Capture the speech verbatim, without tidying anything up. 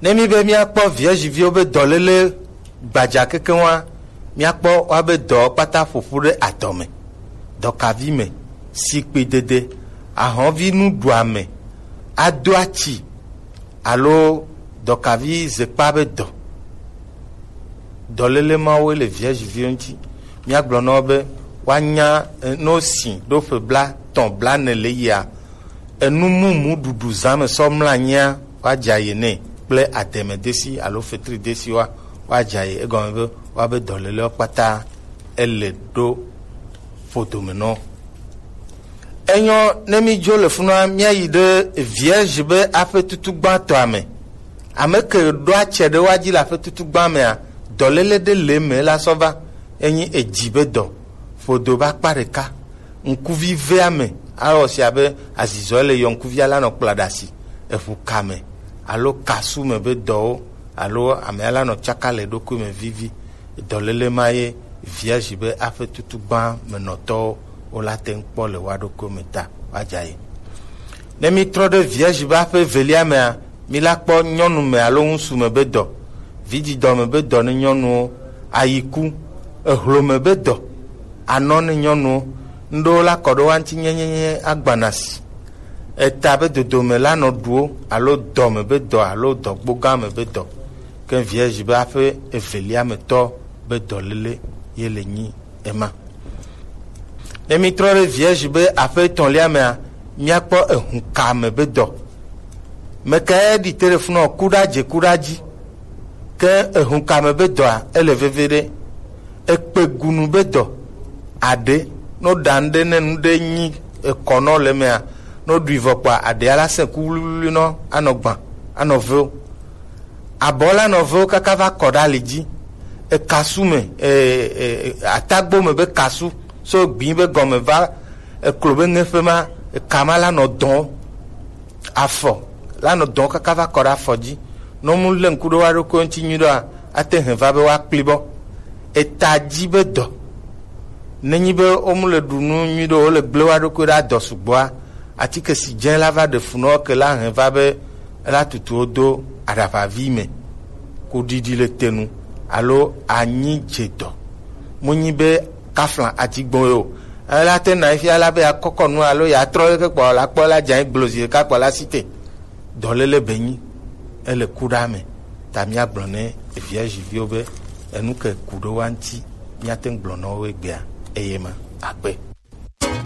Ne mi be miakpɔ viergeviwo be dɔlele gbadza kekeŋ wa, miakpɔ woabe dɔwo kpata ƒoƒu ɖe adɔ me, dɔkavi me, sikpidede, ahɔnvi nuɖuame, ado atsi, alo dɔkavi zekpa be dɔ. Dɔlele mawoe le viergeviwo ŋuti. Míagblɔ na wo be woanya, eh, ne wosi ɖo ƒe blatɔ̃, blaene le yia, enu mumu ɖuɖu zã me sɔ mlɔ anyia, woadza ye nɛ kple ademedesi alo fetridesiwoa, woadza ye. Egɔme be woabe dɔlelewo kpata ele ɖo ƒodome nɔ. Enyɔ ne mi dzo le funua, míayi ɖe vierge be aƒe tutu gbãtɔa me. Ame ke ɖo atsɛ ɖe woa dzi le aƒe tutu gbã mea, dɔlele ɖe le me la sɔ va, enyi edzi be dɔ, ƒodo be akpa ɖeka, ŋkuvi ve ame, awɔ si abe azizɔ le yɔ ŋkuvia la nɔ kpla ɖe asi, eʋu ka me, alo kasu me be dɔwo, alo amea la nɔ tsaka le eɖokui me vivi. Dɔlele ma ye vierge be aƒe tutu gbã me nɔtɔwo wo la te ŋu kpɔ le woa ɖokui me ta woadza ye. Ne mi trɔ ɖe vierge be aƒe evelia mea, mi la kpɔ nyɔnu me alo ŋusu me be dɔ, vidzidɔ me be dɔ ne nyɔnuwo, ayiku, ehlome be dɔ, anɔ ne nyɔnuwo, ŋɖewo la kɔ ɖe woa ŋuti nyenyenye agbana si. Eta be dodome la nɔ ɖuwo alo dɔme be dɔ alo dɔgbogã me be dɔ. Ke vierge be aƒe evelia me tɔ be dɔlele ye le nyi ema. Ne mi trɔ ɖe vierge be aƒe etɔ̃lia mea, míakpɔ ehũka me be dɔ. Mekae ɖi te ɖe funɔ ku ɖa dze ku ɖa dzi. Ke ehũka me be dɔa, ele veve ɖe. Ekpe gunu be dɔ. Aɖe, no ɖa ŋɖe ne ŋɖe nyi ekɔnɔ le mea, no ɖui vɔ kpa aɖea la sẽ ku wluiwlui nɔ anɔ gbã, anɔ veo. Abɔ la nɔ veo kaka va kɔ ɖe ali dzi. Ekasu me, e, e, e, atagbo me be kasu, so gbi be gɔme va eklo be ŋeƒe ma, ekama la nɔ dɔn. Afɔ la nɔ dɔn kaka va kɔ ɖe afɔ dzi. Nɔ mu lé ŋku ɖe wa ɖokui ŋuti nyui ɖoa, ate hɛn va be wa kpli bɔ. Eta dzi be dɔ. Nenyi be wo mu le ɖu nu nyui ɖo, wo le gblẽ wa ɖokui ɖe adɔ sugbɔa, atike si dze la va ɖe funɔ ke la hɛn va be ela tutu wo do aɖaʋavi me. Ko ɖiɖi le te nu alo anyi dze dɔ. Mu nyi be kafla adigbo yo. Ela te na fia la be ya kɔkɔ nu alo ya trɔ ke kpɔ la kpɔ la dze gblɔ zi ɖeka kpɔ la si te. Dɔlele be nyi, ele ku ɖa me. Ta míagblɔ ne vierge viwo be enu ke ku ɖo wa ŋuti, míate ŋu gblɔ na wo egbea, eye ma akpe.